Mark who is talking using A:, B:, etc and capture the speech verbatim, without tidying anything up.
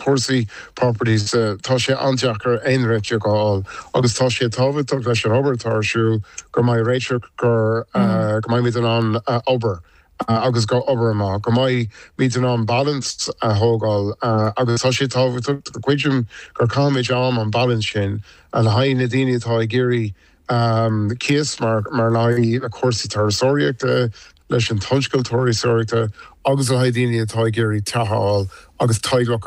A: Cúrsaí properties uh, tá sé an-deacair aon réiteach a fháil agus tá sé tábhachtach leis an obair atá ar siúl go mbeidh réiteach gur uh, go mbeimid in ann uh, obair. Uh, agus go obair amach go mbeimid in ann balance a thógáil uh, agus tá sé tábhachtach go cuidim gur caithfimid am an balance sin a le haghaidh na daoine atá ag iarraidh um, cíos mar mar le na cúrsaí turasóireachta leis an tionscal turasóireachta agus le haghaidh daoine atá ag iarraidh teach a fháil agus teaghlach